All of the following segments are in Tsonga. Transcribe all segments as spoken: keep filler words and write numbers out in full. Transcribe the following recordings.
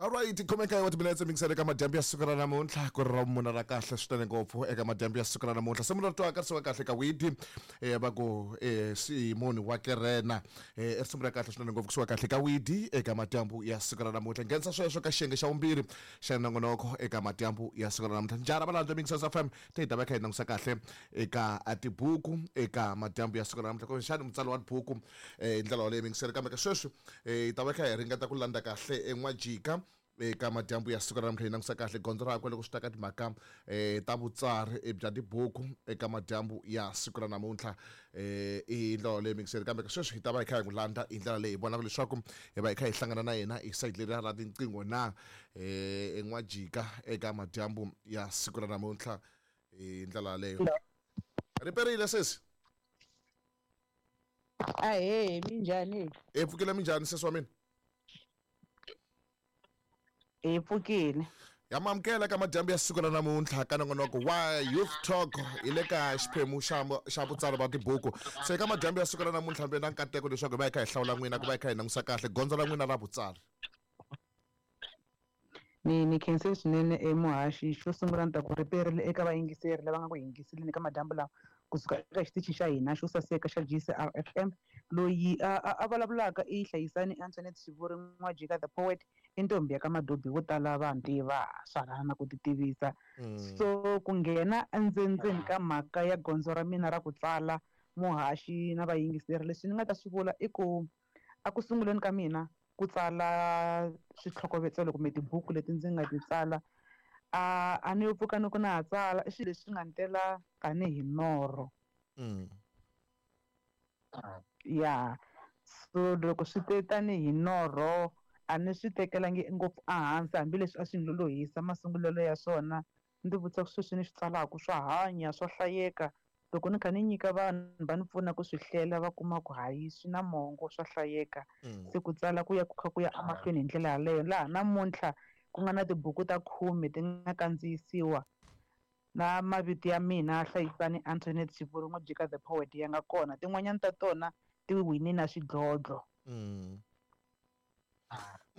Alright, khomeka wa timinetse mingisele eka madyambu ya siku ra namuntlha ku ri ra vumuna ra kahle swinene ngopfu eka madyambu ya siku ra namuntlha se munhu ra twaka risiwa kahle ka widi eh va ku eh Simoni wa Kerena eh i risimu ra kahle swinene ngopfu kusuka kahle ka widi eka madyambu ya siku ra namuntlha nghenisa sweswo ka xiyenge xa vumbirhi xa nongonoko eka madyambu ya siku ra namuntlha njhani valandza mingiselo F M ti hi ta va kha hi langusa kahle eka tibuku eka madyambu ya siku ra namuntlha kumbexani mutsari wa tibuku eh hi ndlela yaleyo mingiselo kambe ka sweswi eh hi ta va kha hi ringeta ku landza kahle en'wajika eka madyambu ya siku ra namuntlha hi langusa kahle gondzo rakwe loko swi ta ka timhaka eh ta vutsari bya tibuku eka madyambu ya siku ra namuntlha eh i ndlela yaleyo mingiselo kambe ka sweswi hi ta va hi kha hi n'wi landza hi ndlela leyi hi vonaka leswaku hi va hi kha hi hlangana na yena hi sayiti leri ra tinqingho na eh en'wajika eka madyambu ya siku ra namuntlha hi ndlela yaleyo riperile sesi ahee minjhani hi pfukile minjhani sesi wa mina hi pfukile ya mamukela ka madyambu ya siku ra namuntlha ka nongonoko wa Youth Talk hi le ka xiphemu xa xa vutsari va tibuku se eka madyambu ya siku ra namuntlha mi ve na nkateko leswaku hi va hi kha hi hlawula n'wina ku va hi kha hi langusa kahle gondzo ra n'wina ra vutsari ni ni khense swinene emuhaxi xo sungula ni ta ku riperile eka vayingiseri lava nga ku yingiseleni ka madyambu lawa kusuka eka xitichi xa hina xo saseka xa G C R F M loyi a a vulavulaka i Hlayisani Antoinette Xivuri N'wajika the poet i ntombi ya ka Madobi vo tala va ntiva swa na ku ti tivisa so ku nghena endzeni ka mhaka ya gondzo ra mina ra ku tsala muhaxi na vayingiseri leswi ni nga ta swi vula i ku a ku sunguleni ka mina ku tsala switlhokovetselo kumbe tibuku leti ndzi nga ti tsala a a ni pfuka ni ku na ha tsala i swilo leswi nga ni tela tanihi norho ya so loko swi te tanihi norho a ni swi tekelangi ngopfu ehansi hambileswi a swi ni lolohisa masungulelo ya swona ndzi vutisa ku sweswi ni swi tsalaka swa hanya swa hlayeka loko ni kha ni nyika vanhu va ni pfuna ku swi hlela va kuma ku hayi swi na mongo swa hlayeka se ku tsala ku ya ku kha ku ya emahlweni hi ndlela yaleyo laha namuntlha ku nga na tibuku ta khume ti nga kandziyisiwa na mavito ya mina Hlayisani Antoinette Xivuri N'wajika the poet ya nga kona tin'wanyana ta tona ti wini na xidlodlo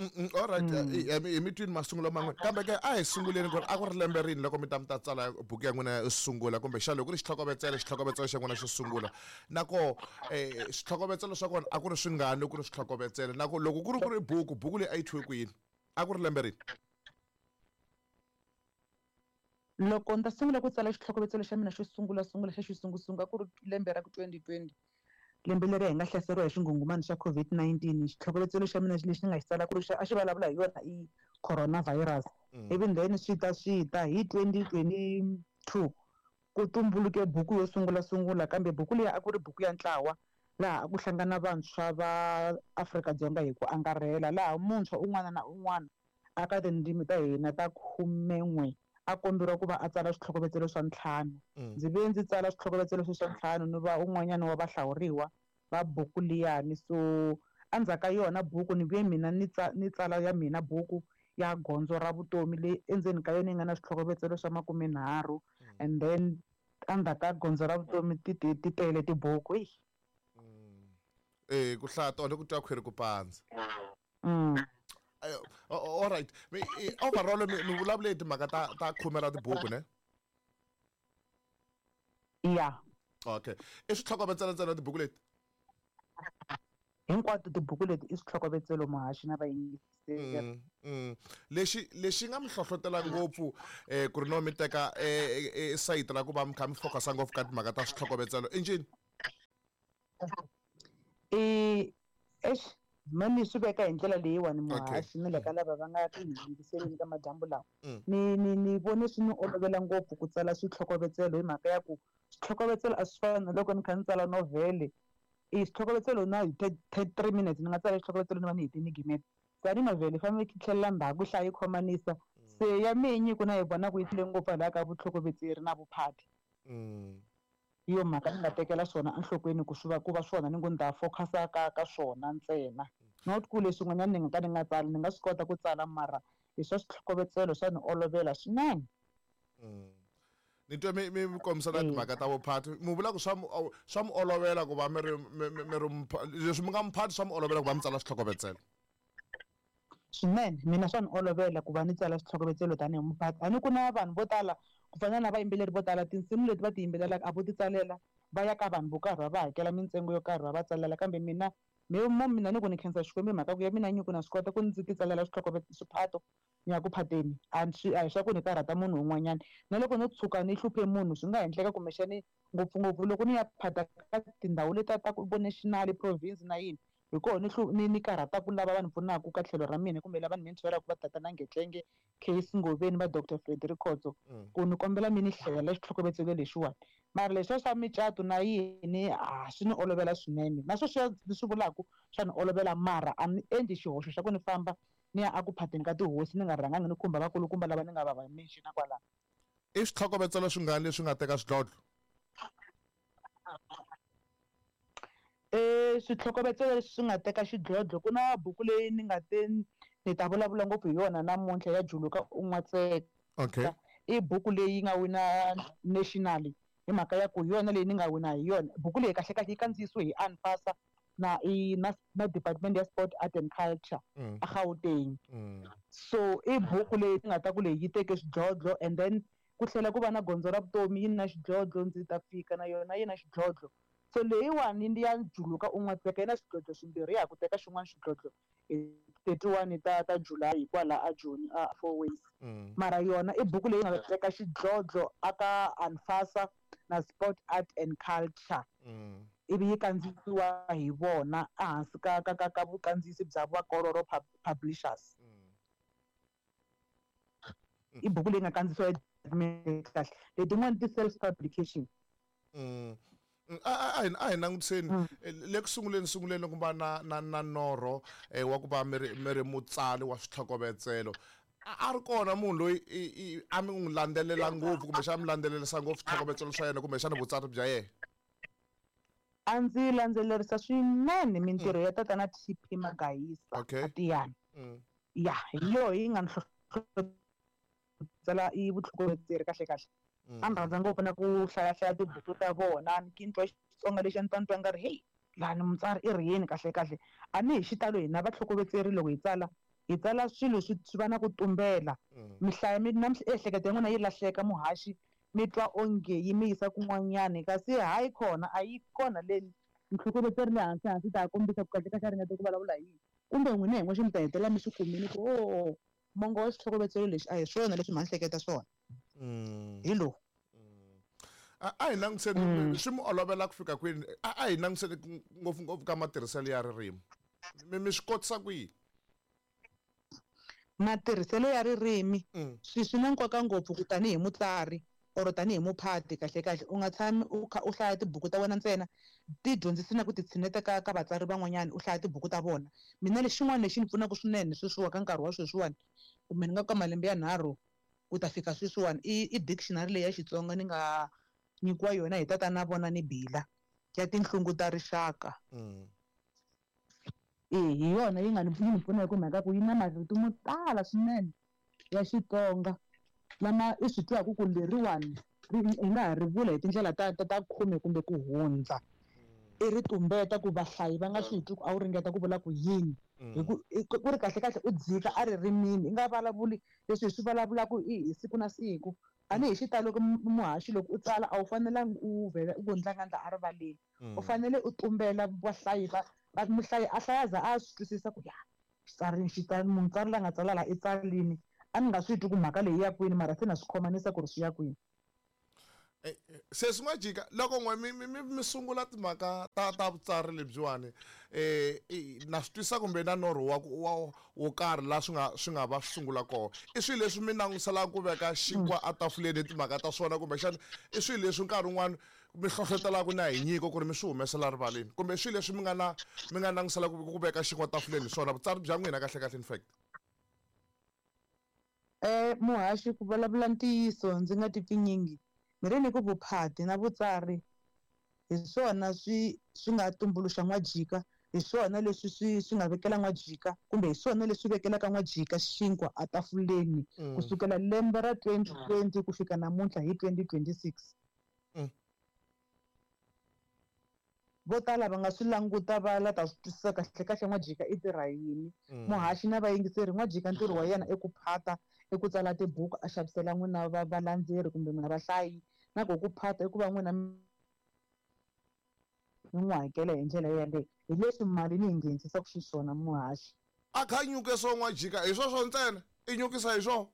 Mm, all right hi mi twini masungulo man'we kambe ke a hi sunguleni ku ri a ku ri lembe rini loko mi ta mi ta tsala buku ya n'wina yo sungula kumbe xa loko ku ri xitlhokovetselo xitlhokovetselo xa n'wina xo sungula na ko eh switlhokovetselo swa kona a ku ri swingani loko ku ri switlhokovetselo na ko loko ku ri ku ri buku buku leyi a yi thyiwe kwini a ku ri lembe rini loko ni ta sungula ku tsala xitlhokovetselo xa mina xo sungula sungula xa xisungusungu a ku ri lembe ra ku twenty twenty lembe leri hi nga hlaseriwa hi xinghunghumani xa COVID nineteen xitlhokovetselo xa mina lexi ni nga xi tsala ku ri xa a xi vulavula hi yona i coronavirus ivi then swi ta swi ta hi twenty twenty two ku tumbuluke buku yo sungula sungula kambe buku leyi a ku ri buku ya ntlawa laha a ku hlangana vantshwa va Afrika-Dzonga hi ku angarhela laha muntshwa un'wana na un'wana a ka tindzimi ta hina ta khumen'we a komberiwa ku va a tsala switlhokovetselo swa ntlhanu ndzi ve ndzi tsala switlhokovetselo swa ntlhanu ni va un'wanyana wa vahlawuriwa va buku liyani so endzhaku ka yona buku ni vuye mina ni tsa ni tsala ya mina buku ya gondzo ra vutomi leyi endzeni ka yona yi nga na switlhokovetselo swa makumenharhu and then endzhaku ka gondzo ra vutomi ti ti ti tele tibuku eyi eh ku hlaya tona ku twa khwiri ku pandza all right mi overall mi mi vulavule hi timhaka ta ta khume ra tibuku ne ya okay i switlhokovetselo ntsena tibuku leti hinkwato tibuku leti i switlhokovetselo muhaxi na vayingiseri lexi lexi nga mi hlohlotela ngopfu eh ku ri no mi teka eh sayiti ra ku va mi kha mi focusa ngopfu ka timhaka ta switlhokovetselo i ncini i exi mani swi veka hi ndlela leyiwani muhaxi ni le ka lava va nga ku yingiseleni ka madyambu lawa ni ni ni vone swi ni olovela ngopfu ku tsala switlhokovetselo hi mhaka ya ku switlhokovetselo a swi fani na loko ni kha ni tsala novhele i switlhokovetselo na hi three minutes ni nga tsala xitlhokovetselo ni va ni hetini gimeta tsani novhele yi fanele yi tlhelela ndzhaku hlaya yi khomanisa se ya mehe nyiko na yi vona ku yi tlule ngopfu hala ka vutlhokovetseri na vuphati hi yo mhaka ni nga tekela swona enhlokweni ku swi va ku va swona ni ngo ni ta focusa ka ka swona ntsena not ku leswin'wanyana ni nga ka ni nga tsali ni nga swi kota ku tsala mara leswa switlhokovetselo swa ni olovela swinene ni twe mi mi kombisana timhaka ta vuphati mi vula ku swa swa mi olovela ku va mi ri mi ri leswi mi nga muphati swa mi olovela ku va mi tsala switlhokovetselo Swinene mina swa ni olovela ku va ni tsala switlhokovetselo tanihi muphati. A ni ku na vanhu vo tala ku fana na vayimbeleri vo tala tinsimu leti va ti yimbelelaka a vo ti tsalela, va ya ka vanhu vo karhi va va hakela mintsengo yo karhi va va tsalela. Kambe mina mo mina ni ku ni khensa Xikwembu hi mhaka ku ya mina nyiko na swi kota ku ndzi ti tsalela swiphato ni ya ku phateni. A swi a hi swa ku ni karhata munhu un'wanyana. Na loko no tshuka ni hluphe munhu swi nga endleka kumbexani ngopfungopfu loko ni ya phata ka tindhawu letiya ta ku vo national, province na yini, hi koho ni ni ni karhataka lava va ni pfunaka ka tlhelo ra mina kumbe lava ni mentoraka va Tatana Ngetlenge, Casey Ngoveni, va Doctor Frederick Khotso, ku ni kombela mi ni hlayela xitlhokovetselo lexiwani. Mara leswiya swa micato na yini a swi ni olovela swinene. Na sweswiya ni swi vulaka swa ni olovela, mara a ni endli xihoxo xa ku ni famba ni ya aku phateni ka tihosi ni nga rhangangi ni khumba vakulukumba lava ni nga va va mention kwalano. I switlhokovetselo swingani leswi nga teka xidlodlo? Eh switlhokovetselo leswi swi nga teka xidlodlo, ku na buku leyi ni nga te ni ta vulavula ngopfu hi yona namuntlha ya Juluka u N'watseka. Okay. I buku leyi nga wina national hi mhaka ya ku hi yona leyi ni nga wina hi yona. Buku leyi kahle kahle yi kandziyisiwe hi ANFASA na i na, na Department ya Sport, Art and Culture mm. a Gauteng. Mm. So i buku leyi ni nga ta ku leyi yi teke xidlodlo, and then ku tlhela ku va na Gondzo ra Vutomi yi na xidlodlo, Ndzi ta fika na yona yi na xidlodlo. So leyiwani ndi ya Juluka u N'watseka yi na swidlodlo swimbirhi, ya ha ku teka xin'wana xidlodlo hi thirty-one ta ta July hikwalaho a Joni a four ways. Mm. Mara yona i buku leyi nga teka xidlodlo aka ANFASA na Sport, Art and Culture. Mm. Ivi yi kandziyisiwa hi vona ehansi ka ka ka ka vukandziyisi bya Vakororo Publishers. Mm. I buku leyi nga kandziyisiwa hi department kahle. Letin'wana ti self publication. Mm. A a a hi langutiseni le ku sunguleni sunguleni loko va na na na norho wa ku va mi ri mi ri mutsari wa switlhokovetselo, a ri kona munhu loyi a mi n'wi landzelela ngopfu kumbe xana mi landzelerisa ngopfu switlhokovetselo swa yena kumbe xana vutsari bya yena? A ndzi landzelerisa swinene mintirho ya Tatana T P Magayisa Okay. Tiyani. Ya, hi yoho yi nga ni hlohletela i vutlhokovetseri kahle kahle. A ni rhandza ngopfu na ku hlayahlaya tibuku ta vona, ni ki twa Xitsonga lexi a ni twa ni twa nga ri hey lani mutsari i ri yini kahle kahle. A ni hi xitalo hina vatlhokovetseri loko hi tsala hi tsala swilo swi swi va na ku tumbela. Mi hlaya mi na miehleketo ya n'wina yi lahleka muhaxi, mi twa onge yi mi yisa kun'wanyani, kasi hayi kona a yi kona le mutlhokovetseri le hansi hansi ta kombisa ku kahle kahle a ringeta ku vulavula hi yini, kumbe n'wina hi n'wexe mi ta hetelela mi swi kumile ku o mongo wa xitlhokovetselo lexi a hi swona leswi mha ni hleketa swona. Hi lowu. A a hi langutiseni swi mi olovela ku fika kwini? A a hi langutiseni ngopfungopfu ka matirhiselo ya ririmi. Mi mi swi kotisa ku yini? Matirhiselo ya ririmi swi swi na nkoka ngopfu ku tanihi mutsari or tanihi muphati kahle kahle u nga tshami u kha u hlaya tibuku ta wena ntsena, ti dyondzisi na ku ti tshineta ka ka vatsari van'wanyana u hlaya tibuku ta vona. Mina lexin'wana lexi ni pfunaka swinene sweswiwa ka nkarhi wa sweswiwani, kumbe ni nga ka malembe ya nharhu ku ta fika sweswiwani, i i dictionary leyi ya Xitsonga ni nga nyikiwa yona hi Tatana vona ni Bila ya tinhlungu ta rixaka. E hi yona yi nga ni yi ni pfuna hi ku mhaka ku yi na marito mo tala swinene ya Xitsonga lama i swi twaka ku leriwani hi nga ha ri vula hi tindlela ta ta ta khume kumbe ku hundza, i ri tumbeta ku vahlayi va nga swi twi ku a wu ringeta ku vula ku yini. Hi ku ku ri kahle kahle u dzika a ririmini, i nga vulavuli leswi hi swi vulavulaka hi siku na siku. A ni hi xitalo muhaxi loko u tsala a wu fanelangi u vhela u ku ndlangandla a rivaleni, u fanele u tumbela vahlayi va va muhlayi a hlaya za a swi twisisa ku ya xitsarini xitsari mutsari la nga tsala la i tsalini. A ni nga swi twi ku mhaka leyi ya kwini, mara se na swi khomanisa ku ri swi ya kwini. Se swi nga jika loko n'we mi mi mi sungula timhaka ta ta vutsari lebyiwani, eh na swi twisa kumbe na norho wa wa wo karhi la swi nga swi nga va swi sungula kona. I swilo leswi mi languselaka ku veka xinkwa etafuleni hi timhaka ta swona, kumbexana i swilo leswi nkarhi wun'wani mi hlohlotelaka na hi nyiko ku ri mi swi humesela rivaleni, kumbe swilo leswi mi nga na mi nga languselaka ku veka xinkwa etafuleni hi swona vutsari bya n'wina kahle kahle in fact? Eh muhaxi, ku vulavula ntiyiso ndzi nga ti pfinyingi, mi ri ni ku vuphati na vutsari hi swona swi swi nga tumbuluxa N'wajika, hi swona leswi swi swi nga vekela N'wajika, kumbe hi swona leswi vekelaka N'wajika xinkwa etafuleni kusukela lembe ra twenty twenty ku fika namuntlha hi twenty twenty-six. Vo tala va nga swi languta va la ta swi twisisa kahle kahle N'wajika i tirha yini. Muhaxi na vayingiseri, N'wajika ntirho wa yena i ku phata, i ku tsala tibuku a xavisela n'wina va valandzeri kumbe n'wina vahlayi, na ku ku phata i ku va n'wina mi n'wi hakela hi ndlela yeleyo. Hi leswi mali ni yi nghenisisaka xiswona muhaxi. A kha nyuke swo N'wajika hi swoswo ntsena, i nyukisa hi swona?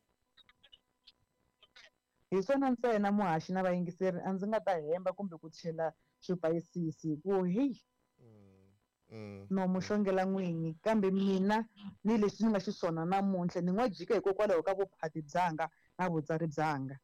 Hi swona ntsena muhaxi na vayingiseri, a ndzi nga ta hemba kumbe ku chela swipayisisi ku heyi no muxongela n'winyi, kambe mina ni leswi ni nga xiswona namuntlha ni N'wajika hikokwalaho ka vuphati byanga na vutsari byanga.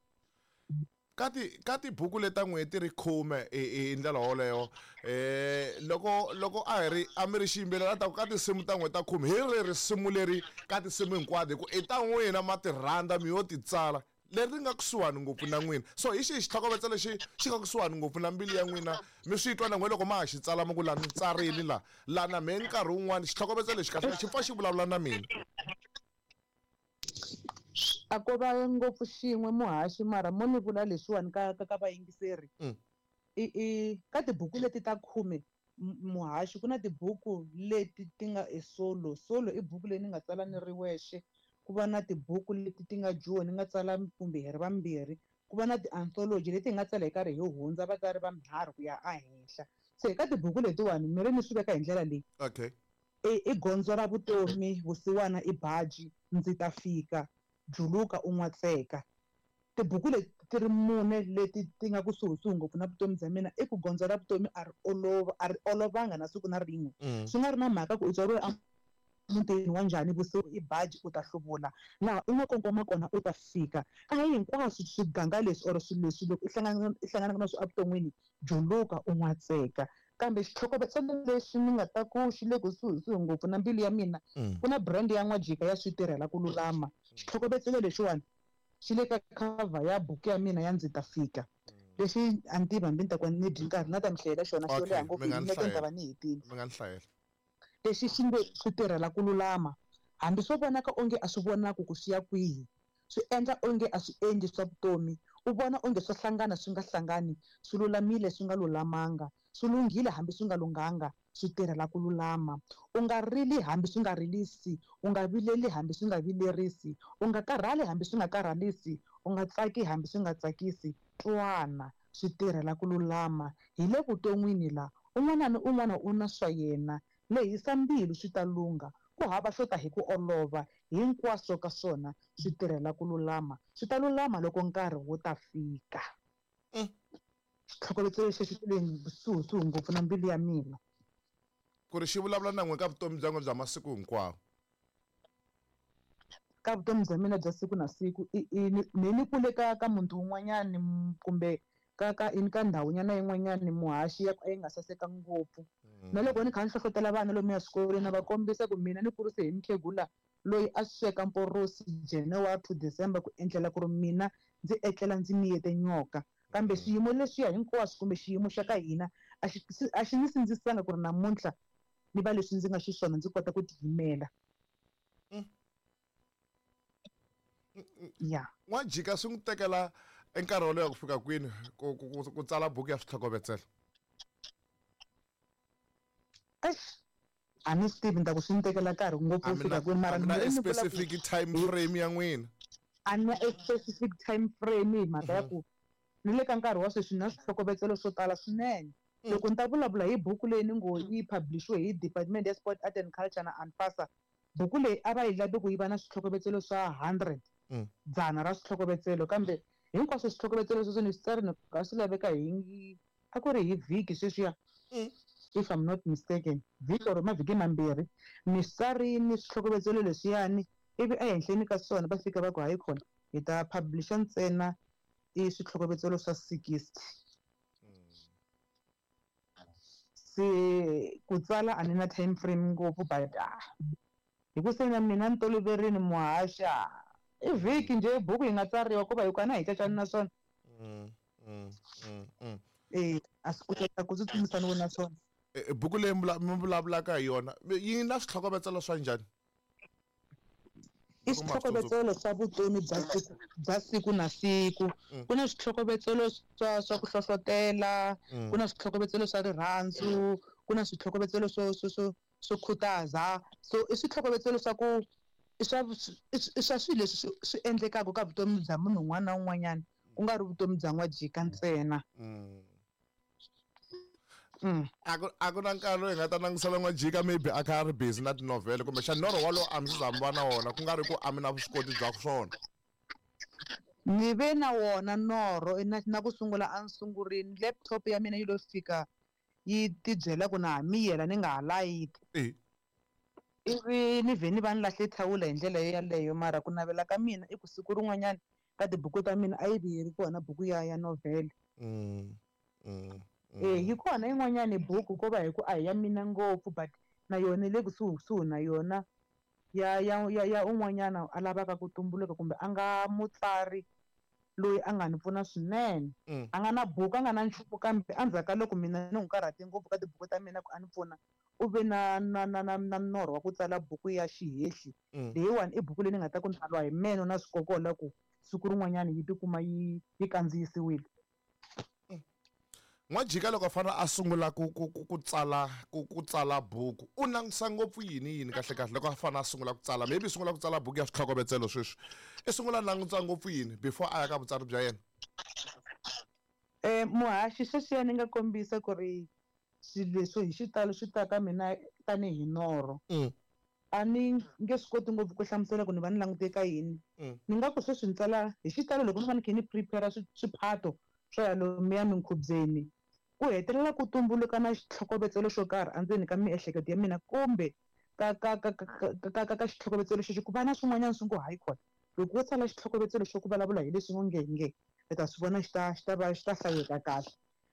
Ka ti ka tibuku leta n'we ti ri khume hi ndlela yoleyo, eh loko loko a hi ri a mi ri xiyimbeleri a ta ku ka tinsimu ta n'we ta khume hi ri risimu leri ka tinsimu hinkwato hi ku i ta n'wina ma ti rhandza mi yo ti tsala leri nga kusuhani ngopfu na n'wina. So hi xihi xitlhokovetselo lexi xi nga kusuhani ngopfu na mbilu ya n'wina mi swi twa na n'we loko ma ha xi tsala mi ku la ni tsarini la la na mehe nkarhi wun'wani xitlhokovetselo lexi kahle xi pfa xi vulavula na mina? A ko va ngopfu xin'we muhaxi, mara mo ni vula leswiwani ka ka ka vayingiseri. I i ka tibuku leti ta khume muhaxi ku na tibuku leti ti nga e solo. Solo i buku leyi ni nga tsala ni ri wexe. Ku va na tibuku leti ti nga juwa ni nga tsala kumbe hi ri vambirhi. Ku va na ti-anthology leti hi nga tsala hi karhi hi hundza vatsari vanharhu ku ya ehenhla. Se eka tibuku letiwani mi ri ni swi veka hi ndlela leyi. Okay. I i gondzo ra vutomi, vusiwana i baji, ndzi ta fika, juluka u n'watseka. Tibuku leti ti ri mune leti ti nga kusuhisuhi ngopfu na vutomi bya mina i ku gondzo ra vutomi a ri olova, a ri olovanga na siku na rin'we. Swi nga ri na mhaka ku u tswariwe emutini wa njhani, vusiku i baji u ta hluvula laha u nga kongoma kona u ta fika. A hi hinkwaswo swiganga leswi or swilo leswi loko i hlangana i hlanganaka na swona evuton'wini, juluka u n'watseka. Kambe xitlhokovetselo lexi ni nga ta ku xi le kusuhisuhi ngopfu na mbilu ya mina, ku na brand ya N'wajika ya swi tirhela ku lulama. Xitlhokovetselo lexiwani xi le ka cover ya buku ya mina ya ndzi ta fika. Lexi a ni tivi hambi ni ta ku ni dyi nkarhi na ta mi hlayela xona xo leha ngopfu, mi nga ni ni ta hlayela. va ni hetile. Mi nga ni hlayela. Lexi xi nge swi tirhela ku lulama, hambi swo vonaka onge a swi vonaki ku swi ya kwihi, swi endla onge a swi endli swa vutomi, u vona onge swo hlangana swi nga hlangani, swi lulamile swi nga lulamanga, swi lunghile hambi swi nga lunghanga, swi tirhela ku lulama. U nga rili hambi swi nga rilisi, u nga vileli hambi swi nga vilerisi, u nga karhali hambi swi nga karhalisi, u nga tsaki hambi swi nga tsakisi, twana swi tirhela ku lulama. Hi le vuton'wini la, un'wana ni un'wana u na swa yena, lehisa mbilu swi ta lungha, ku hava xo ta hi ku olova, hinkwaswo ka swona swi tirhela ku lulama, swi ta lulama loko nkarhi wu ta fika. Xitlhokovetselo lexi xi le kusuhisuhi ngopfu na mbilu ya mina. Ku ri xi vulavula na n'we ka vutomi bya n'we bya masiku hinkwawo. Ka vutomi bya mina bya siku na siku, i, i, ni, ni ni kule ka, ka muti wun'wanyani kumbe ka, ka, in ka ndhawunyana yin'wanyani muhaxi ya ku a yi nga saseka ngopfu. Na loko ni kha ni hlohlotela vana lomuya swikolweni na va kombisa ku mina ni kurise hi mukhegula loyi a sweka mporosi January to December ku endlela ku ri mina ndzi etlela ndzi miyete nyoka. Kambe swiyimo leswiya hinkwaswo kumbe xiyimo xa ka hina a xi, a xi ndzi sindzisanga ku ri namuntlha ni va leswi ndzi nga xiswona ndzi kota ku tiyimela. Ya. N'wajika swi n'wi tekela nkarhi wo leha ku fika kwini ku, ku, ku, ku tsala buku ya switlhokovetselo? Eish, a ni swi tivi ni ta ku swi ni tekela nkarhi ngopfu A ku mi fika na, kwini, mara a mi na ni ri ni vula ku specific time frame ya n'wina? A ni na a specific time frame hi mhaka ya ku ni le ka nkarhi wa sweswi na switlhokovetselo swo tala swinene. Loko ni ta vulavula hi buku leyi ni ngo yi publish-iwe hi Department ya Sport, Art and Culture na ANFASA, buku leyi a va yi lavi ku yi va na switlhokovetselo swa hundred, dzana ra switlhokovetselo, kambe hinkwaswo switlhokovetselo sweswo ni swi tsarini a swi laveka hi, a ku ri hi vhiki sweswiya, if I'm not mistaken, vhiki or mavhiki mambirhi, ni swi tsarini switlhokovetselo leswiyani, ivi ehenhleni ka swona va fika va ku hayi khona hi ta publish-a ntsena i switlhokovetselo swa sixty. Se ku tsala a ni na time frame ngopfu, but ah, hi ku se na mina ni toloverini muhaxi, ah, i vhiki njhe buku yi nga tsariwa ku va hi kona hi cacani na swona. Eh, a swi koteka ku tsutsumisana na swona. Eh, buku leyi mi vulavulaka hi yona yi na switlhokovetselo swa njhani? I switlhokovetselo swa vutomi bya siku bya siku na siku. Ku na switlhokovetselo swa swa ku hlohlotela, ku na switlhokovetselo swa rirhandzu, ku na switlhokovetselo swo swo swo swo khutaza. So i switlhokovetselo swa ku i swa i swa swilo leswi swi endlekaka ka vutomi bya munhu un'wana na un'wanyana, ku nga ri vutomi bya N'wajika ntsena. Mm. A ku a ku na nkarhi loyi hi nga ta langutisela N'wajika maybe a kha a ri busy na tinovhele kumbexana norho walowo a mi se za mi va na wona ku nga ri ku a mi na vuswikoti bya swona. Ni ve na wona norho na, na ku sungula a ni sungurini laptop ya mina yi lo fika yi tibyela ku na ha miyela ni nga ha layiti. Eh. Ivi ni vhe ni va ni lahle thawula hi ndlela yeleyo, mara ku navela ka mina i ku siku rin'wanyana ka tibuku ta mina a yi vi yi ri kona buku ya ya novhele. Mm. Mm. Eh, yi kona yin'wanyani buku ko va hi ku a hi ya mina ngopfu, but na yona le kusuhikusuhi na yona ya ya ya ya un'wanyana a lavaka ku tumbuluka kumbe a nga mutsari loyi a nga ni pfuna swinene. Mm. A nga na buku, a nga na nchumu, kambe endzhaku ka loko mina ni n'wi karhate ngopfu ka tibuku ta mina ku a ni pfuna, u ve na na na na na norho wa ku tsala buku ya xihehli. Mm. Leyiwani i buku leyi ni nga ta ku ni ta lwa hi meno na swikokola ku siku rin'wanyana yi tikuma yi yi kandziyisiwile. N'wajika loko a fanele a sungula ku ku ku ku tsala ku ku tsala buku u langutisa ngopfu yini yini kahle kahle loko a fanele a sungula ku tsala, maybe sungula ku tsala buku ya switlhokovetselo sweswi, i sungula langutisa ngopfu yini before a ya ka vutsari bya yena? Eh, muhaxi sweswiya ni nga kombisa ku ri swilo leswi hi xitalo swi ta ka mina tanihi norho. Mm. A ni nge swi koti ngopfu ku hlamusela ku ni va ni langute ka yini. Mm. Ni nga ku sweswi ni tsala hi xitalo loko ni va ni kha ni prepare swiphato swo ya lomuya minkhubyeni, ku hetelela ku tumbuluka na xitlhokovetselo xo karhi endzeni ka miehleketo ya mina kumbe ka ka ka ka ka ka ka xitlhokovetselo xexo ku va na swin'wanyana swi ngo hayi khona. Loko wo tsala xitlhokovetselo xo ku vulavula hi leswi ngo nge nge, i ta swi vona xi ta xi ta va xi ta hlayeka kahle.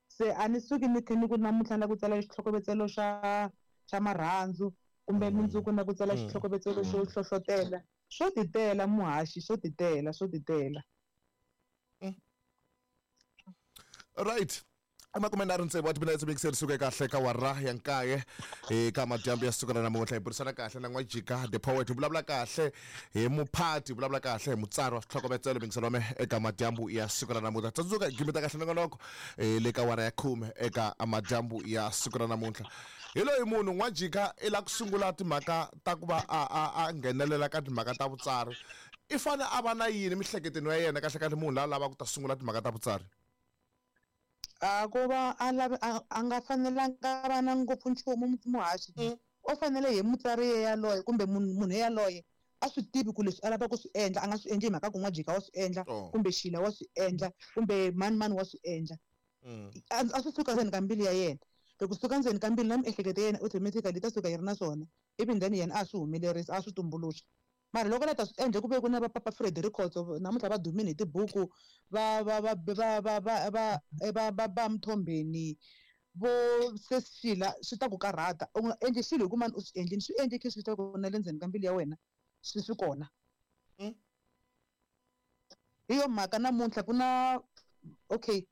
Se a ni suki ni kha ni ku namuntlha ni lava ku tsala xitlhokovetselo xa xa marhandzu kumbe mundzuku ni lava ku tsala xitlhokovetselo xo hlohlotela. Swo titela muhaxi, swo titela, swo titela. Right. Emakume nharhu tsevu wa timinetse mikiseri suke kahle ka wara ya nkaye eka madyambu ya siku ra namuntlha. Hi burisana kahle na N'wajika the poet, hi vulavula kahle hi muphati, hi vulavula kahle hi mutsari wa switlhokovetselo mingiselo wa me eka madyambu ya siku ra namuntlha. Tsundzuka hi gimeta kahle nongonoko le ka wara ya khume eka madyambu ya siku ra namuntlha. Hi loyi munhu N'wajika i lava ku sungula timhaka ta ku va a a a nghenelela ka timhaka ta vutsari, i fanele a va na yini miehleketweni ya yena kahle kahle munhu la lavaka ku ta sungula timhaka ta vutsari? A ko va a lava a nga fanelanga va na ngopfu nchumu muhaxi. O fanele hi mutsari yaloye kumbe munhu munhu yaloye a swi tivi ku leswi a lavaka ku swi endla a nga swi endli hi mhaka ku N'wajika wa swi endla kumbe Xila wa swi endla kumbe mani mani wa swi endla. A swi suka ndzeni ka mbilu ya yena. Loko suka ndzeni ka mbilu na miehleketo ya yena automatically yi ta suka yi ri na swona, ivi then yena a swi humelerisa a swi tumbuluxa. Mara loko la ta swi endla ku ve ku na va Papa Frederick Khotso namuntlha va dumile hi tibuku, va va va va va va va va va va Mthombeni vo Sesifila, swi ta ku karhata. U nga endli xilo hi ku mani u swi endlini, swi endle khe swi ta ku na le ndzeni ka mbilu ya wena swi swi kona. Hi yo mhaka namuntlha ku na okay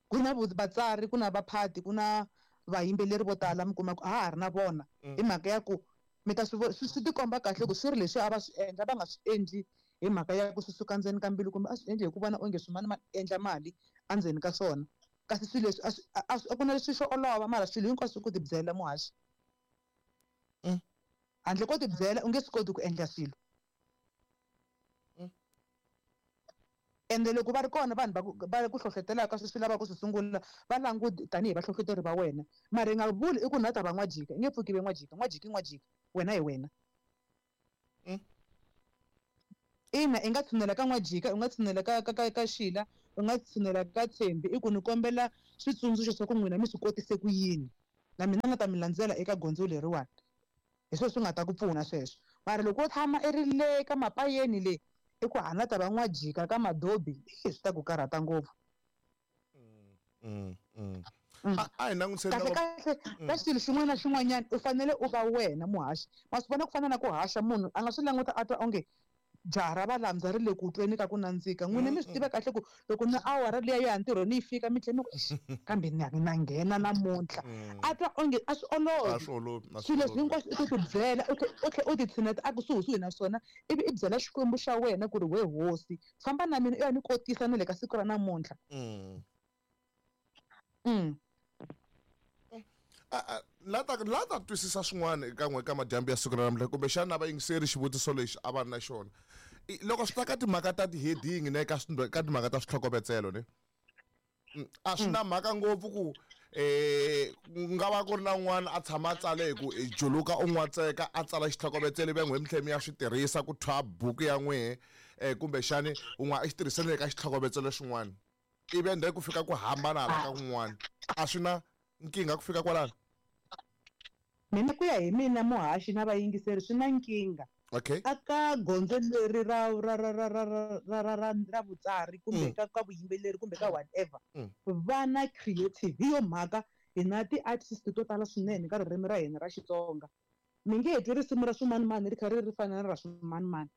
ku na vatsari, ku na vaphati, ku na vayimbeleri vo tala mi kuma ku a ha ha ri na vona hi mhaka ya ku mi ta swi swi tikomba kahle ku swi ri leswi a va swi endla va nga swi endli hi mhaka ya ku swi suka ndzeni ka mbilu kumbe a swi endli hi ku vona onge swin'wana ma endla mali endzeni ka swona, kasi swilo leswi a swi a ku na leswi swo olova, mara swilo hinkwaswo ku tibyela muhaxi. Handle ko tibyela u nge swi koti ku endla swilo. Ende loko va ri kona vanhu va ku va ku hlohlotelaka sweswi lavaka ku swi sungula va languti tanihi vahlohloteri va wena, mara i nga vuli i ku na ta va N'wajika, i nge pfuki ve N'wajika, N'wajika i N'wajika, wena hi wena. Ina i nga tshunela ka N'wajika, u nga tshunela ka ka ka ka Xila, u nga tshunela ka Tshembi, i ku ni kombela switsundzuxo swa ku n'wina mi swi kotise ku yini, na mina na ta mi landzela eka gondzo leriwani. Hi swona swi nga ta ku pfuna sweswo. Mara loko wo tshama i ri le ka mapayeni le i ku hana ta va N'wajika ka madobi, swi ta ku karhata ngopfu. Mm, mm. A hi langutiseni kahle kahle ka xilo xin'wana na xin'wanyana u fanele u va wena muhaxi. Ma swi vona ku fana na ku haxa, munhu a nga swi languta a twa onge Jaha ra valandza ri le ku tweni ka ku nandzika. N'wina mi swi tiva kahle ku loko na awara liya yo ya ntirho ni yi fika mi tlhela mi ku kambe ni na nghena namuntlha. A twa onge a swi olovi. Swilo leswi hinkwaswo i ku ti byela u tlhela u ti tshineta a kusuhisuhi na swona ivi i byela Xikwembu xa wena ku ri we hosi famba na mina u ya ni kotisa na le ka siku ra namuntlha. Mm. La ta la ta twisisa swin'wana eka n'we ka madyambu ya siku ra namuntlha kumbexana va yingiseri xivutiso lexi a va ri na xona. Loko swi ta ka timhaka ta ti-heading na eka ka timhaka ta switlhokovetselo ne a swi na mhaka ngopfu ku eh nga va ku ri na un'wana a tshama a tsale hi ku juluka u n'watseka a tsala xitlhokovetselo ivi n'we mi ya swi tirhisa ku thwa buku ya n'wehe kumbexani un'wana i xi tirhisele eka xitlhokovetselo xin'wana ivi endzhaku ku fika ku hambana hala ka kun'wana a swi na nkingha ku fika kwalano. Mina ku ya hi mina muhaxi na vayingiseri swi na nkingha. Okay. Aka gondzo leri ra ra ra ra ra ra ra ra ra vutsari kumbe ka ka vuyimbeleri kumbe ka whatever vana creative hi yo mhaka hi na ti-artist to tala swinene ka ririmi ra hina ra Xitsonga. Mi nge he twi risimu ra swimanimani ri kha ri ri fana na ra swimanimani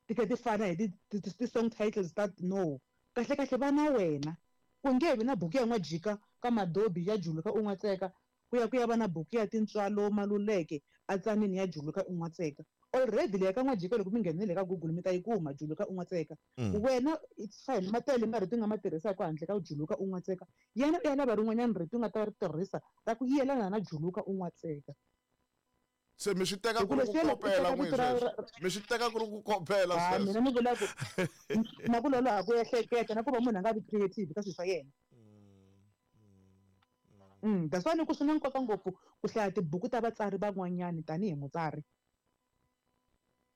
ti kha ti fana hi ti-song titles ta no kahle kahle vana wena ku nge vi na buku ya N'wajika ka Madobi ya Juluka u N'watseka ku ya ku ya va na buku ya Tintswalo Maluleke a Tsanini ya Juluka u N'watseka. Already leyi ka N'wajika loko mi nghenele ka Google mi ta yi kuma Juluka u N'watseka. Wena it's fine ma tele marito u nga ma tirhisaka handle ka Juluka u N'watseka. Yena u ya lava rin'wanyana rito u nga ta ri tirhisa ra ku yelana na Juluka u N'watseka. Se mi swi teka ku ri ku kopela n'wi sweswo. Mi swi teka ku ri ku kopela sweswo. Mina ni vula ku na ku loloha ku ehleketa na ku va munhu a nga vi creative ka swilo swa yena. Mm, that's why ni ku swi na nkoka ngopfu ku hlaya tibuku ta vatsari van'wanyani tanihi mutsari.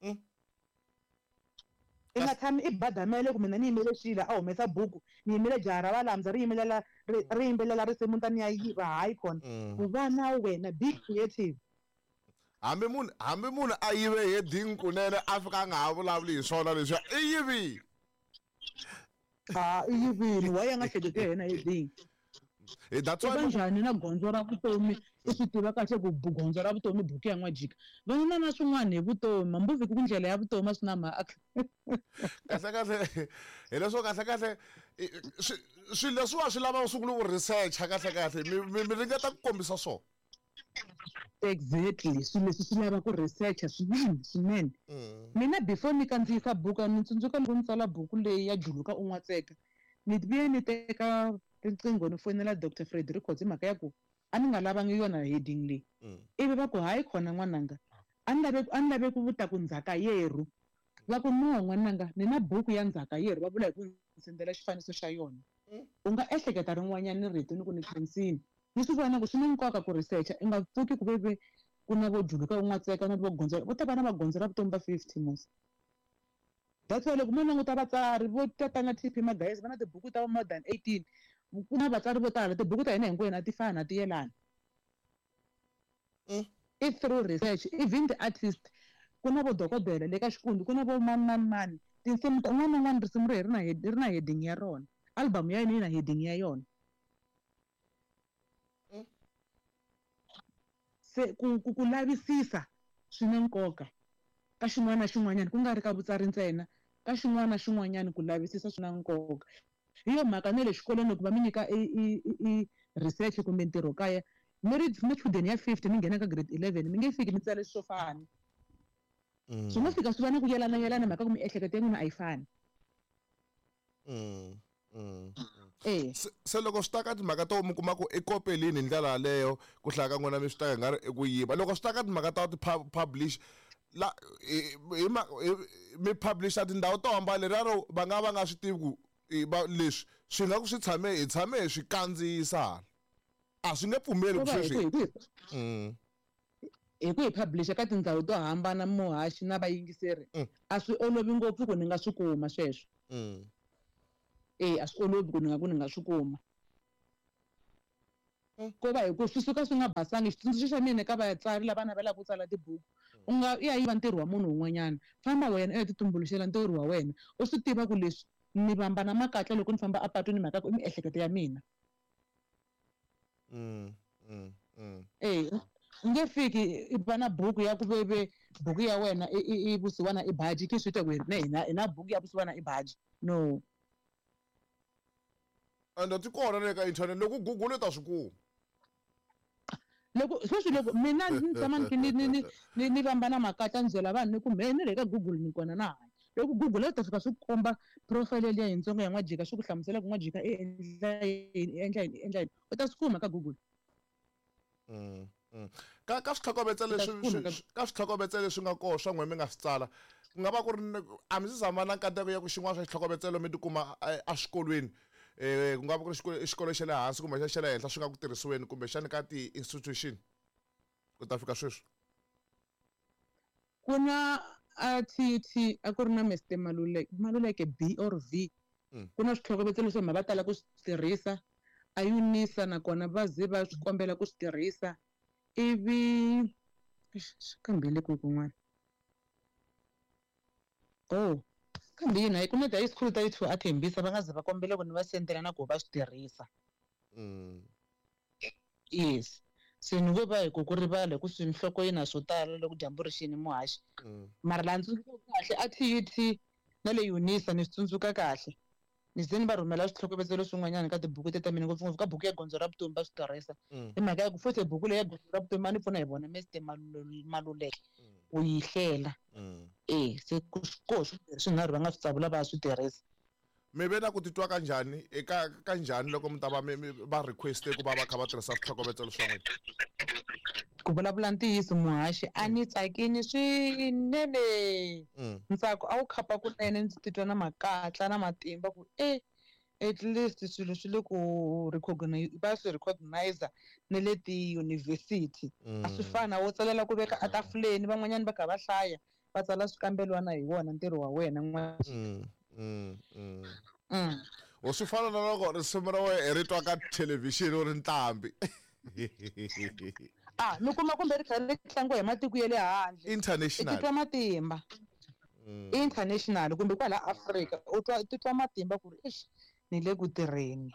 I nga tshami i badamele ku mina ni yimele Xila a humesa buku ni yimele jaha ra valandza ri yimbelela ri yimbelela risimu ta ni ya yiva hayi khona. Ku va na wena be creative. Hambi munhu hambi munhu a yive heading kunene a fika a nga ha vulavuli hi swona leswiya i yivile. Ha i yivile wa ya nga hleketi yena heading. That's why njhani na gondzo ra vutomi i swi tiva kahle ku gondzo ra vutomi buku ya N'wajika van'wana na swin'wana hi vutomi hambi ku ndlela ya vutomi a swi na mhaka. Kahle kahle hileswo kahle kahle swilo leswiwa swi lava u sungula u research kahle kahle mi mi ringeta ku kombisa swona. Exactly swilo leswi swi lava ku research swinene swinene. Mina before ni kandziyisa buku ni tsundzuka loko ni tsala buku leyi ya Juluka u N'watseka ni vuye ni teka riqingho ni fonela Doctor Frederick Khotsi mhaka ya ku a ni nga lavangi yona heading leyi. Ivi va ku hayi khona n'wananga a ni lave a ni lave ku vuta ku ndzhaka yerhu va ku no n'wananga ni na buku ya ndzhaka yerhu va vula hi ku ndzi sendela xifaniso xa yona. U nga ehleketa rin'wanyana rito ni ku ni khensini ni swi vona ku swi na nkoka ku researcha i nga pfuki ku veve ku na vo Juluka u N'watseka na vo gondzo vo ta va na vagondzo ra vutomi va fifty mos. That's why loko mo languta vatsari vo tatana T P Magaisa va na tibuku ta more than eighteen ku na vatsari vo tala tibuku ta hina hinkwenu a ti fani a ti yelani. I through research even the artist ku na vo dokodela le ka Xikundu ku na vo mani mani mani tinsimu ta un'wana na un'wana risimu ri na ri na heading ya rona album ya yena yi na heading ya yona. Se ku ku ku lavisisa swi na nkoka ka xin'wana na xin'wanyana ku nga ri ka vutsari ntsena ka xin'wana na xin'wanyana ku lavisisa swi na nkoka. Hi yo mhaka na le xikolweni loko va mi nyika i i research kumbe ntirho kaya mi ri machudeni ya fifty mi nghena ka grade eleven mi nge fiki mi tsale swo fana. Swi nga fika swi va na ku yelana yelana mhaka ku miehleketo ya n'wina a yi fani. Eh se loko swi ta ka timhaka to mi kuma ku i kopelini hi ndlela yaleyo ku hlaya ka n'wina mi swi ta nga ri ku yiva loko swi ta ka timhaka ta ti-publish la hi mi publisha tindhawu to hambana leriya ro va nga va nga swi tivi ku leswi swi nga ku swi tshame hi tshame hi swi kandziyisa a swi nge pfumeli ku sweswi hi ku hi publisha ka tindhawu to hambana muhaxi na vayingiseri a swi olovi ngopfu ku ni nga swi kuma sweswo. Eh a swi olovi ku ni nga ku ni nga swi kuma ko va hi ku swi suka swi nga basangi. Xitsundzuxo xa mina ka vatsari lava navelaka ku tsala tibuku u nga ya yiva ntirho wa munhu un'wanyana famba wena u ya titumbuluxela ntirho wa wena u swi tiva ku leswi ni vamba na makatla loko ni famba apatwini mhaka ku i miehleketo ya mina. Eh Nge fiki i va na buku ya ku veve buku ya wena i i vusiwana i baji ki swi ta ku na hina hi na buku ya vusiwana i baji no. And ti kona le ka internet loko Google i ta swi kuma. Loko sweswi loko mina ni tshama ni ni ni ni ni vamba na makatla ni byela vanhu ni ku mehe ni le ka Google ni kona na hanya. Loko Google u ta fika swi ku komba profile liya yitsongo ya N'wajika swi ku hlamusela ku N'wajika i endla yini i endla yini i endla yini u ta swi kuma ka Google. Mm. Mm. Ka ka switlhokovetselo leswi ka switlhokovetselo leswi nga kona swa n'we mi nga swi tsala ku nga va ku ri a mi se zama na nkateko ya ku xin'wana swa xitlhokovetselo mi tikuma exikolweni eh ku nga va ku ri xikolo xikolo xa le hansi kumbe xa xa le henhla swi nga ku tirhisiweni kumbexani ka ti-institution ku ta fika sweswi. Ku na a T T a ku ri na Mister Maluleke Maluleke B or V ku na switlhokovetselo leswi va tala ku swi tirhisa a UNISA nakona va ze va swi kombela ku swi tirhisa ivi swi kambile ku kun'wana oh kambe yini hayi ku na ti-high school ta yi two a Tembisa va nga ze va kombela ku ni va sendela na ku va swi tirhisa. Yes se ni ngo va hi ku ku rivala hi ku swi nhloko yi na swo tala loko dyambu ri xini muhaxi mara laha ndzi tsundzuka kahle a T U T na le UNISA ni swi tsundzuka kahle ni ze ni va rhumela switlhokovetselo swin'wanyana ka tibuku te ta mina ngopfungopfu ka buku ya Gondzo ra Vutomi va swi tirhisa hi mhaka ya ku futhi buku leyi ya Gondzo ra Vutomi a ni pfuna hi vona Mister Maluleke ku yi hlela e se ku koho swinharhu va nga swi tsavula va swi tirhisa. Mi ve na ku titwa ka njhani eka ka njhani loko mi ta va va request ku va va kha va tirhisa switlhokovetselo swa n'wina? Ku vulavula ntiyiso muhaxi a ni tsakini swinene ntsako a wu khapa kunene ndzi titwa na makatla na matimba ku e at least swilo swi le ku recognize va swi recognize na le ti-university a swi fani wo tsalela ku veka etafuleni van'wanyana va kha va hlaya va tsala swikambelwana hi wona ntirho wa wena n'wana. O swi fana na loko risimu ra wena ri twa ka thelevhixini u ri ntlhambi. Ah mi kuma kumbe ri kha ri tlangiwa hi matiko ya le handle international i titwa matimba international kumbe kwala Afrika u twa titwa matimba ku ri eish ni le ku tirheni.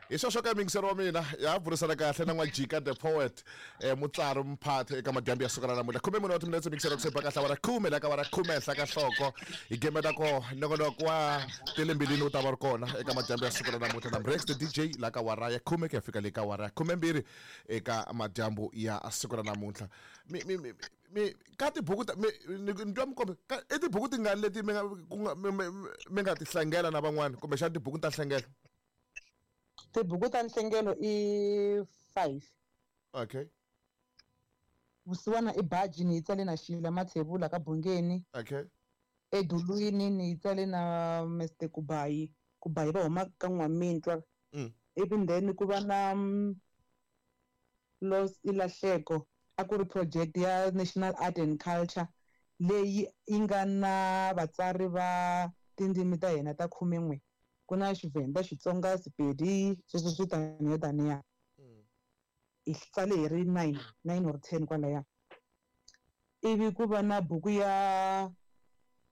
Hi sweswo ka mingisero wa mina ya burisana kahle na N'wajika the poet eh mutsari mphathi eka madyambu ya siku ra namuntlha khume mune wa timinetse mingisero ku se baka hlawara khume la ka wara khume henhla ka nhloko hi gemeta ko nongonoko wa tilembilini wu ta va ri kona eka madyambu ya siku ra namuntlha na Brex the D J la ka wara ya khume ku ya fika le ka wara ya khumembirhi eka madyambu ya siku ra namuntlha. Mi mi mi ka tibuku ta mi ni twa mi komba i tibuku tingani leti mi nga mi nga ti hlangela na van'wana kumbexana tibuku ta nhlengelo? Tibuku ta nhlengelo i five. Okay. Vusiwana i baji ni yi tsale na Xila Mathebula ka Bungeni. Okay. Edulwini ni yi tsale na Mister Kubayi Kubayi va huma ka N'wamintwa. Ivi then ku va na Los Ilahleko a ku ri project ya National Art and Culture leyi yi nga na vatsari va tindzimi ta hina ta khumen'we. Ku na Xivenda, Xitsonga, Sepedi, sweswo swi taniya taniya. Hi tsale hi ri nine, nine or ten kwalaya. Ivi ku va na buku ya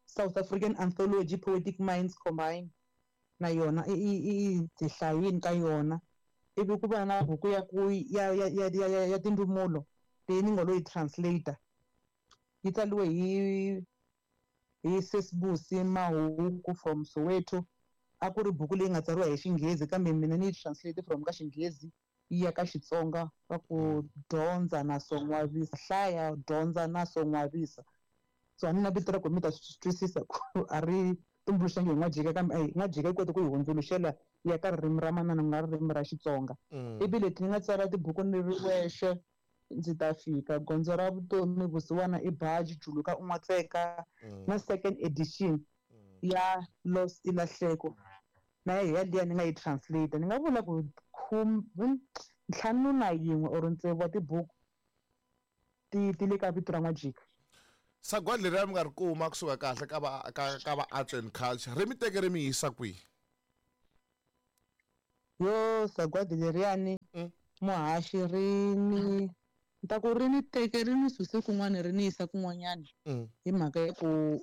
South African Anthology Poetic Minds Combined na yona i i i hlayini ka yona. Ivi ku va na buku ya ku ya ya ya ya ya tindzumulo leyi ni nga lo yi translator yi tsaliwe hi hi Sesibusi Mahuku from Soweto. A ku ri buku leyi nga tsariwa hi Xinghezi kambe mina ni yi translate from ka Xinghezi yi ya ka Xitsonga va ku dyondza na son'wavisa hlaya dyondza na son'wavisa. So a ni na vito ra ku mi ta swi twisisa ku a ri tumbuluxangi hi N'wajika kambe a N'wajika yi kote ku yi hundzuluxela ya ka ririmi ra manana ku nga ririmi ra Xitsonga. Ivi leti ni nga tsala tibuku ni ri wexe ndzi ta fika Gondzo ra Vutomi Vusiwana i baji Juluka u N'watseka na second edition ya Los Ilahleko na ya liya ni nga yi translate ni nga vula ku ntlhanu na yin'we or tsevu wa tibuku ti ti le ka vito ra N'wajika. Sagwadi leriya mi nga ri kuma kusuka kahle ka va ka ka va arts and culture ri mi teke ri mi yisa kwihi? Yo sagwadi leriyani muhaxi ri ni ta ku ri ni teke ri ni suse kun'wana ri ni yisa kun'wanyana hi mhaka ya ku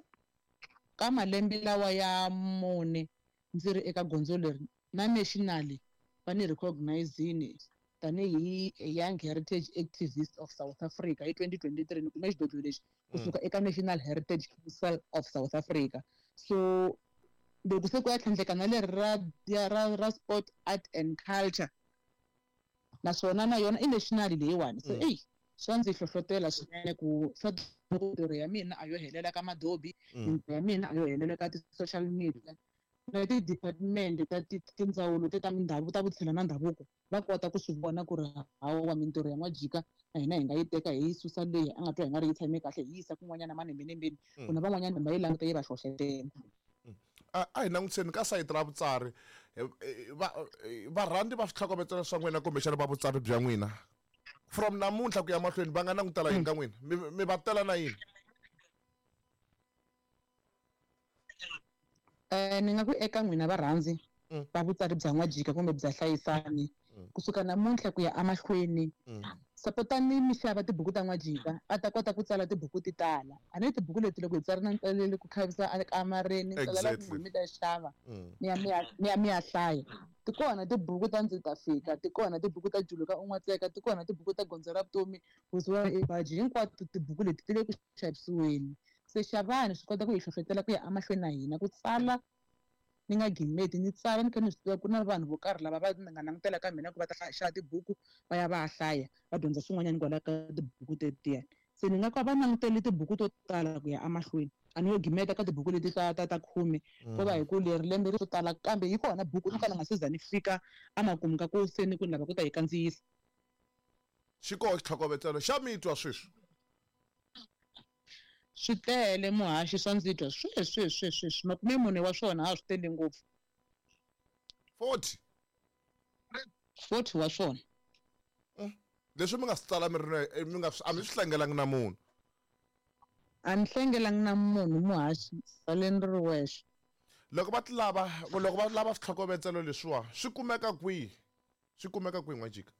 ka malembe lawa ya mune ndzi ri eka gondzo leri na nationally va ni recognize-ini tanihi Young Heritage Activist of South Africa hi twenty twenty-three ni kume xidlodlo lexi kusuka eka National Heritage Council of South Africa. So loko se ku ya tlhandleka na leri ra ra ra sport, art and culture, naswona na yona i national leyiwani. So eyi swa ndzi hlohlotela swinene ku swa mintirho ya mina a yo helela ka Madobi, mintirho ya mina a yo helela ka ti-social media na ti-department ta tindzawulo te ta mindhavuko ta vutshila na ndhavuko va kota ku swi vona ku ri hawa mintirho ya N'wajika na hina hi nga yi teka hi yi susa leyi a nga twa hi nga ri yi tshame kahle hi yisa kun'wanyana manembenembeni ku na van'wanyana va yi languta yi va hlohlotela. A hi langutiseni ka sayiti ra vutsari, varhandzi va switlhokovetselo swa n'wina kumbexana va vutsari bya n'wina from namuntlha ku ya mahlweni va nga langutela yini ka n'wina, mi va tela na yini? Eh ni nga ku eka n'wina varhandzi va vutsari bya N'wajika kumbe bya Hlayisani kusuka namuntlha ku ya emahlweni, sapotani mi xava tibuku ta N'wajika a ta kota ku tsala tibuku ti tala. A ni tibuku leti loko hi tsari na ntsaleli ku khavisa ekamareni ni tsalela ku mi ta xava mi ya mi ya mi ya mi ya hlaya. Ti kona tibuku ta Ndzi Ta Fika, ti kona tibuku ta Juluka U N'watseka, ti kona tibuku ta Gondzo ra Vutomi, Vusiwa Ebaji, hinkwato tibuku leti ti le ku xavisiweni. Se xavani swi kota ku hi hlohlotela ku ya emahlweni na hina ku tsala ni nga gimeti ni tsala ni kha ni swi tiva ku na vanhu vo karhi lava va nga langutela ka mina ku va ta xava tibuku va ya va ya hlaya va dyondza swin'wanyana kwala ka tibuku tetiyani. Se ni nga ka va langutele tibuku to tala ku ya emahlweni, a ni yo gimeta ka tibuku leti ta ta ta khume ko va hi ku leri lembe ri to tala, kambe yi kona buku no ka ni nga se za ni fika emakumu ka ku se ni ku ni lava ku ta yi kandziyisa. Xi koho xitlhokovetselo xa mi twa sweswi? Swi tele muhaxi swa ndzi twa sweswi sweswi sweswi makume mune wa swona a swi tele ngopfu. forty forty wa swona leswi mi nga swi tsala mi ri mi nga a mi swi hlengelangi na munhu? A ni hlengelangi na munhu muhaxi, saleni ri ri wexe. Loko va ti lava loko va lava switlhokovetselo leswiwa swi kumeka kwihi? Swi kumeka kwihi N'wajika?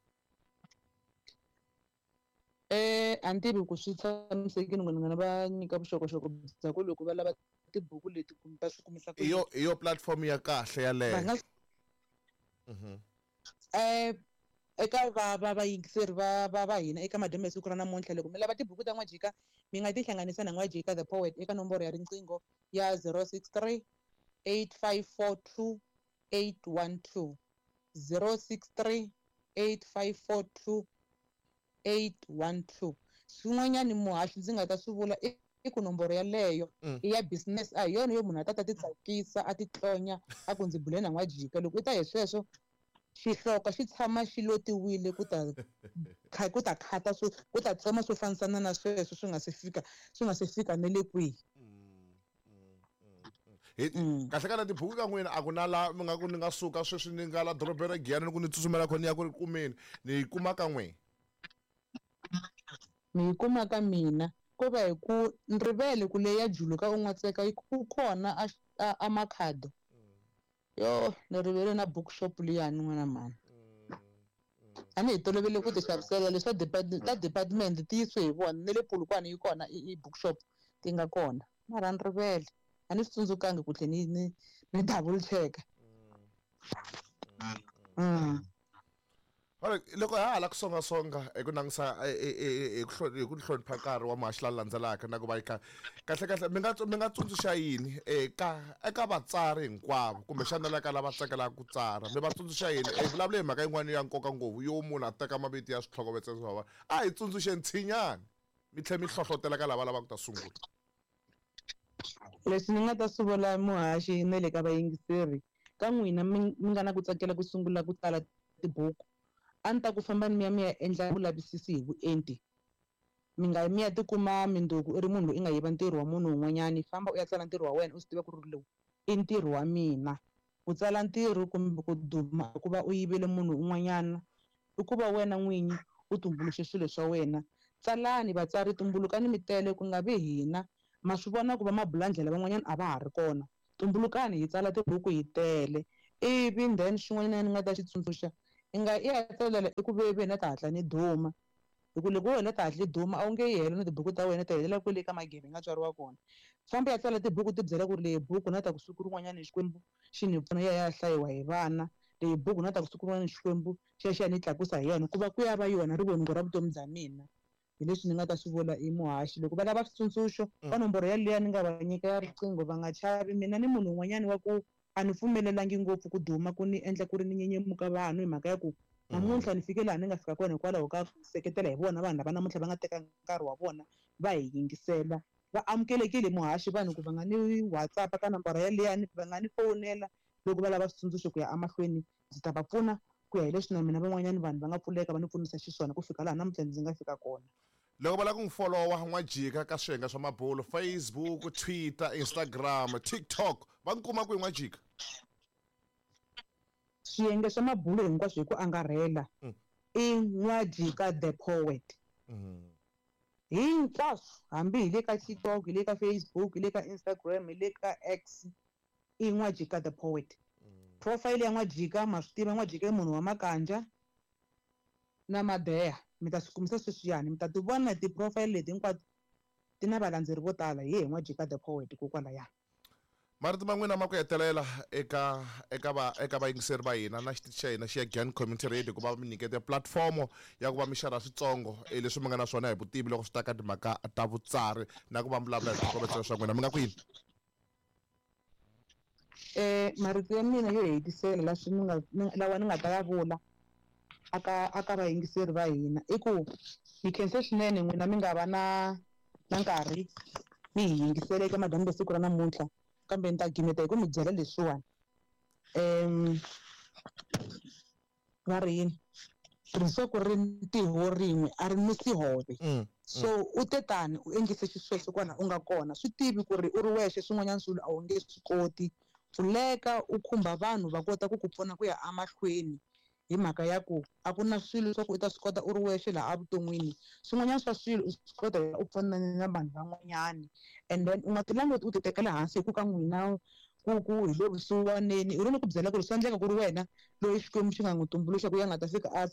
Eh a ni tivi ku swi tshamisekile ni nga va nyika vuxokoxoko bya ku loko va lava tibuku leti kumbe va swi kumisa ku yo yo platform ya kahle yaleyo. Eh eka va va vayingiseri va va va hina eka madyambu ya siku ra namuntlha, loko mi lava tibuku ta N'wajika mi nga tihlanganisa na N'wajika the Poet eka nomboro ya riqingho ya zero six three eight five four two eight one two, zero six three eight five four two eight one two. Swin'wanyani muhaxi ndzi nga ta swi vula i ku nomboro yaleyo i ya business, a hi yona yo munhu a ta ta ti tsakisa a ti tlonya a ku ndzi bule na N'wajika. Loko i ta hi sweswo xihloka xi tshama xi lotiwile ku ta ku ta khata swo ku ta tsema swo fambisana na sweswo swi nga se fika swi nga se fika ne le kwihi. Kahle ka tibuku ka n'wina a ku na la mi nga ku ni nga suka sweswi ni nga la dorobeni ra Giyani ni ku ni tsutsumela khona ni ya ku ri kumeni, ni yi kuma ka n'wina? Mi yi kuma ka mina ko va hi ku ni rivele ku leyi ya Juluka U N'watseka yi ku kona a a Makhado. Yo ni rivele na bookshop liyani n'wana mhani. A ni hi tolovele ku ti xavisela leswa ta department ti yisiwe hi vona ne le Polokwane yi kona i bookshop ti nga kona, mara ni rivele a ni swi tsundzukangi ku tlhe ni ni ni double check. Mm. Loko ha hala ku songasonga hi ku langutisa hi ku hlonipha nkarhi wa muhaxi la landzelaka na ku va yi kha kahle kahle mi nga mi nga tsundzuxa yini eka eka vatsari hinkwavo kumbexana la ka lava tsakelaka ku tsara, mi va tsundzuxa yini? Hi vulavule hi mhaka yin'wana ya nkoka ngopfu yo munhu a teka mavito ya switlhokovetselo swa vona, a hi tsundzuxeni tshinyani mi tlhela mi hlohlotela ka lava lavaka ku ta sungula. Leswi ni nga ta swi vula muhaxi na le ka vayingiseri ka n'wina mi nga na ku tsakela ku sungula ku tsala tibuku, a ni ta ku famba mi ya mi ya endla vulavisisi hi vuenti. Mi nga mi ya tikuma minduku i ri munhu loyi i nga yiva ntirho wa munhu un'wanyani, famba u ya tsala ntirho wa wena u swi tiva ku ri lowu i ntirho wa mina. Ku tsala ntirho kumbe ku duma ku va u yivele munhu un'wanyana i ku va wena n'winyi u tumbuluxe swilo swa wena. Tsalani vatsari, tumbulukani mi tele ku nga vi hina. Ma swi vona ku va mabulandlela van'wanyana a va ha ri kona. Tumbulukani hi tsala tibuku hi tele. Ivi then xin'wanyana ni nga ta xi tsundzuxa i nga i ya tsalela i ku ve na ta hatla ni duma, hi ku loko wena ta hatla duma a wu nge yi helo na tibuku ta wena ta helela kwele ka magebe nga tswariwa kona. Famba ya tsala tibuku ti byela ku ri leyi buku na ta ku siku rin'wanyana Xikwembu xi ni pfuna ya ya hlayiwa hi vana Leyi buku na ta ku siku rin'wana Xikwembu xi ya xi ya ni tlakusa hi yona ku va ku ya va yona rivoningo ra vutomi bya mina. Hi leswi ni nga ta swi vula i muhaxi. Loko va lava switsundzuxo ka nomboro yaliya ni nga va nyika ya riqingho va nga chavi. Mina ni munhu un'wanyani wa ku a ni pfumelelangi ngopfu ku duma ku ni endla ku ri ni nyenyemuka vanhu hi mhaka ya ku namuntlha ni fike laha ni nga fika kona hikwalaho ka ku seketela hi vona vanhu lava namuntlha va nga teka nkarhi wa vona va hi yingisela. Va amukelekile muhaxi vanhu ku va nga ni WhatsApp ka nambara yaliyani, va nga ni fowunela loko va lava switsundzuxo ku ya emahlweni. Ndzi ta va pfuna ku ya hi leswi na mina van'wanyana vanhu va nga pfuleka va ni pfunisa xiswona ku fika laha namuntlha ndzi nga fika kona. Loko va lava ku n'wi folowa N'wajika ka swiyenge swa mabulo, Facebook, Twitter, Instagram, TikTok, va n'wi kuma kwihi N'wajika? Swiyenge swa mabulo hinkwaswo hi ku angarhela i N'wajika the Poet. Hinkwaswo, hambi hi le ka TikTok, hi le ka Facebook, hi le ka Instagram, hi le ka X, i N'wajika the Poet. Profile ya N'wajika ma swi tiva, N'wajika i munhu wa makanja na madeha. Mi ta swi kumisa sweswiyani, mi ta ti vona ti-profile leti hinkwato ti na valandzeri vo tala hi N'wajika the Poet kokwalaya. Marito ma n'wina ma ku hetelela eka eka va eka vayingiseri va hina na xitichi xa hina xi ya Giyani Community Radio ku va mi nyikete platform ya ku va mi xara switsongo leswi mi nga na swona hi vutivi loko swi ta ka timhaka ta vutsari na ku va mi vulavula hi switlhokovetselo swa n'wina, mi nga ku yini? Eh marito ya mina yo hetisela leswi ni nga lawa ni nga ta ya vula aka aka vayingiseri va hina i ku ni khense swinene n'wina mi nga va na na nkarhi mi hi yingisela eka madyambu ya siku ra namuntlha, kambe ni ta gimeta hi ku mi byela leswiwani. Um va ri yini, risoko ri ntiho rin'we a ri nwisi hove. So u te tani u endlise xisweswo kwala u nga kona, swi tivi ku ri u ri wexe swin'wanyana swilo a wu nge swi koti. Pfuleka u khumba vanhu va kota ku ku pfuna ku ya emahlweni hi mhaka ya ku a ku na swilo swa ku u ta swi kota u ri wexe laha evuton'wini. Swin'wanyana swa swilo u swi kota u pfunana na vanhu van'wanyani, and then u nga ti languti u ti tekela hansi hi ku ka n'wina ku ku hi le vusiwaneni. U ri ni ku byela ku ri swi endleka ku ri wena loyi Xikwembu xi nga n'wi tumbuluxa ku ya nga ta fika a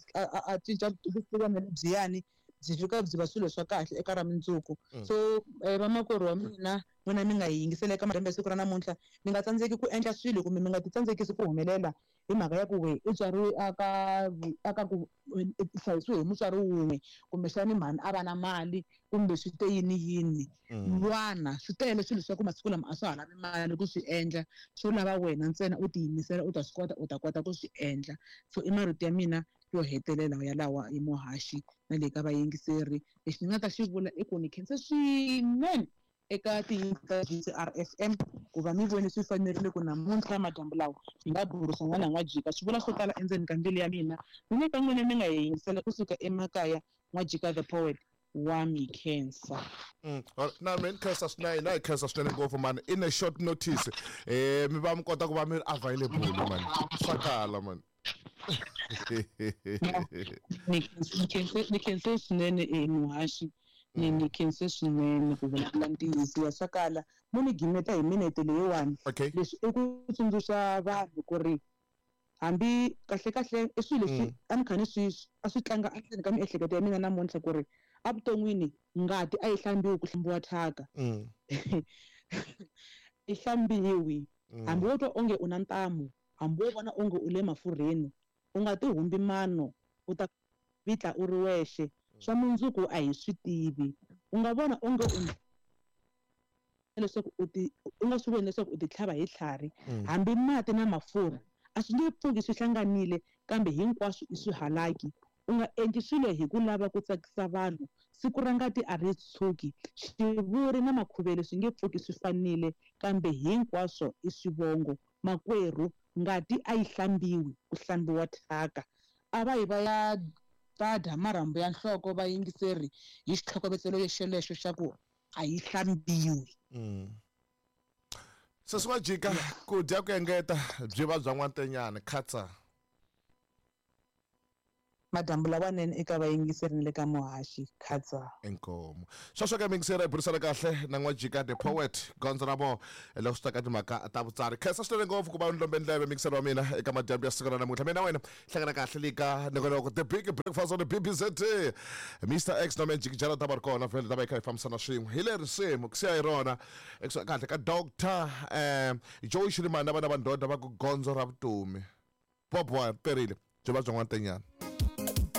a cinca vusiwana lebyiyani byi fika byi va swilo swa kahle eka ra mundzuku. So vamakwerhu wa mina, n'wina mi nga hi yingisela eka malembe ya siku ra namuntlha, mi nga tsandzeki ku endla swilo kumbe mi nga ti tsandzekisi ku humelela hi mhaka ya ku we i tswariwe aka aka ku hlayisiwe hi mutswari wun'we, kumbexani mhani a va na mali kumbe swi te yini yini. Lwana swi tele swilo swa ku masiku lama a swa ha lavi mali ku swi endla, swo lava wena ntsena u tiyimisela u ta swi kota, u ta kota ku swi endla. So i marito ya mina yo hetelela ya lawa i muhaxi na le ka vayingiseri. Lexi ni nga ta xi vula i ku ni khensa swinene eka tiyindlu ta G C R F M ku va mi vone swi fanerile ku namuntlha madyambu lawa hi nga burisana na N'wajika. Swi vula swo tala endzeni ka mbilu ya mina ni le ka n'wina mi nga hi yingisela kusuka emakaya. N'wajika the Poet wa mi khensa. Na mina ni khensa swinene, na hi khensa swinene ngopfu mani. In a short notice eh mi va mi kota ku va mi ri available mani, swa kala mani. Ni khense swinene e muhaxi, ni ni khense swinene ku vulavula ntiyiso ya swa kala. Mo ni gimeta hi minete leyiwani. Leswi i ku tsundzuxa vanhu ku ri hambi kahle kahle i swilo leswi a ni kha ni swi a swi tlanga endzeni ka miehleketo ya mina namuntlha ku ri evuton'wini ngati a yi hlambiwi ku hlambiwa thyaka. Yi hlambiwi hambi wo twa onge u na ntamu, hambi wo vona onge u le mafurheni, u nga ti humbi mano u ta vitla u ri wexe. Swa mundzuku a hi swi tivi. U nga vona onge u leswaku u ti u nga swi voni leswaku u ti tlhava hi tlhari. Hambi mati na mafurha a swi nge pfuki swi hlanganile, kambe hinkwaswo i swihalaki. U nga endli swilo hi ku lava ku tsakisa vanhu. Siku ra ngati a ri tshuki. Xivuri na makhuvele swi nge pfuki swi fanile, kambe hinkwaswo i swivongo. Makwerhu, ngati a yi hlambiwi ku hlambiwa thyaka. A va yi va ya va dya marhambu ya nhloko vayingiseri hi xitlhokovetselo xolexo xa ku a yi hlambiwi. Sesi N'wajika, ku dya ku engeta byi va bya n'wantenyana khatsa. Madyambu lawanene eka vayingiseri ni le ka muhaxi khatsa. Inkomu. Sweswo ka miyingiseri hi burisana kahle na N'wajika the Poet, gondzo ra vona loko swi ta ka timhaka ta vutsari. Khensa swinene ngopfu ku va u ni lombe ndleve miyingiseri wa mina eka madyambu ya siku ra namuntlha. Mina na wena hlangana kahle le ka nongonoko The Big Breakfast on the B B Z T. Mister X na Magic Jara ta va ri kona vhele ta va yi kha yi fambisana swin'we. Hi le risimu ku siya hi rona ekusuhi kahle ka Doctor um Joe Shirimani na vana va ndoda va ku gondzo ra vutomi. Bob wa perile byi va byin'wana tenyana.